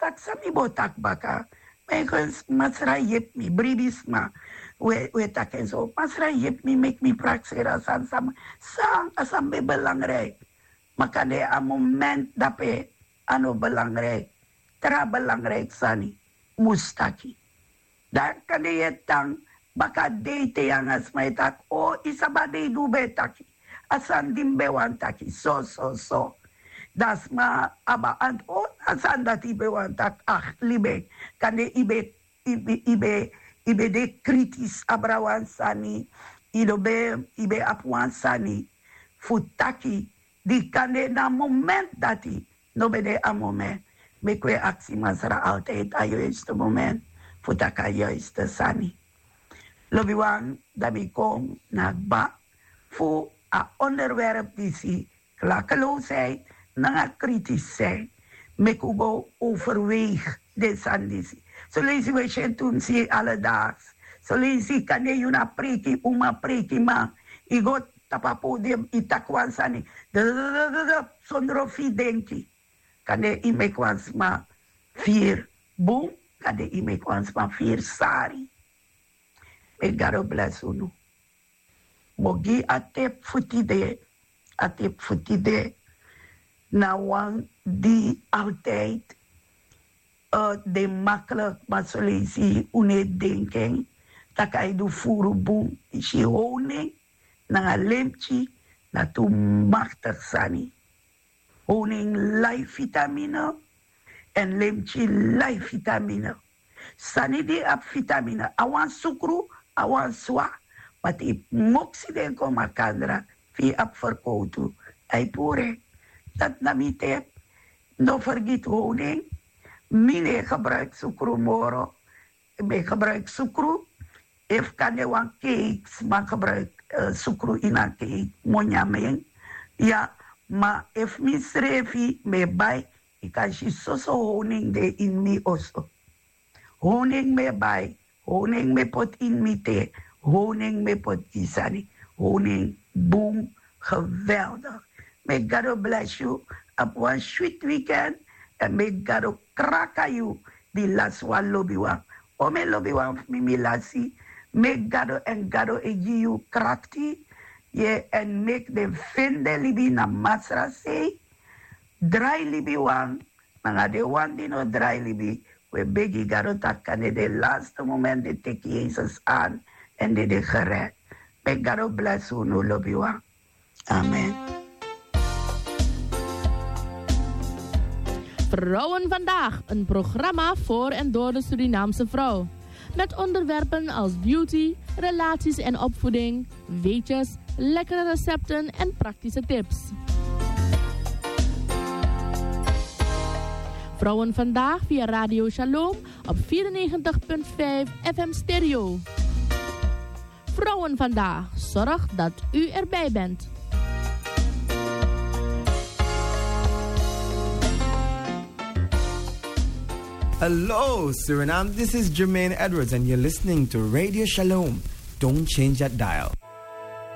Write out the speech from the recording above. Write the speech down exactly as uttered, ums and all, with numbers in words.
taki san mi bo taki baka. Meigens masra yepi mi, bribi sma. We taki en so, masra yepi mi, meki mi prakseri a sani san, san a sani ben belangrijk. Ma kande a moment dape a no belangrijk. Tra belangrijk sani mus taki. Dan kande yu e tan baka dei te yu nanga sma e taki, o yu sabi a dei di un ben e taki, a sani di mi ben wani taki so so so. Dan sma abi a anti, o a sani dati yu ben wani taki. Ah, libi en. Kande yu ben yu ben yu ben yu ben de kritis abra wan sani. Yu no ben yu ben abi wan sani fu taki, di kande na moment dati no ben de a moment. Meki wi e aksi masra altijd a juiste moment fu taki a juiste sani. Lobiwan, dan mi kon na kba fu a onderwerp disi, klakeloosheid nanga kritisisheid. Meki un go overweeg den sani disi. Soleisi wi e si en tu mi si en aledaags. Soleisi kande yu na preiki uma, preiki man, yu go tapu a podium yu taki wan sani sondro fu yu denki. Kande yu meki wan sma firi bun, kande yu meki wan sma firi sari. Meki gado blesi unu. Mi o gi a tep fu tide. A tep fu tide na wan di altijd de maklik, ma soleisi un no e denki en, tak' a e du furu bun. Yu si, honing nanga lemtyi na tu maktik sani. Honing lai fitamine, èn lemtyi lai fitamine. Sani di abi fitamine, a wan sukru, a wan swa, ma te yu moksi den kon makandra fu yu abi ferkowtu, a e puru en. Dati na mi tep. No fergiti honing. Mi no e gebruiki sukru moro. Mi e gebruiki sukru efu kande wan keik, sma gebruiki sukru ini a keik, mi o nyan en. Ya, ma efu mi srefi mi e bai, yu kan si soso honing de ini mi oso. Honing mi e bai, honing mi e poti ini mi te, honing mi e poti gi sani. Honing bun, geweldig. Meki gado blesi yu. Abi wan switi weekend. Èn meki gado kraka yu di lasi wan lobiwan. O mi lobiwan fu mi, mi lasi. Meki gado èn gado e gi yu krakti. Ye, èn meki den fende libi na masra sei. Drai libi wan nanga den wan di no drai libi. Wi e begi gado tak' kande den laste moment den teki yesus an èn den de gered. Meki gado blesi unu lobiwan. Amen. Vrouwen vandaag, een programma voor en door de Surinaamse vrouw. Met onderwerpen als beauty, relaties en opvoeding, weetjes, lekkere recepten en praktische tips. Vrouwen vandaag via Radio Shalom op vierennegentig punt vijf F M stereo. Vrouwen vandaag, zorg dat u erbij bent. Hello, Suriname. This is Jermaine Edwards, and you're listening to Radio Shalom. Don't change that dial.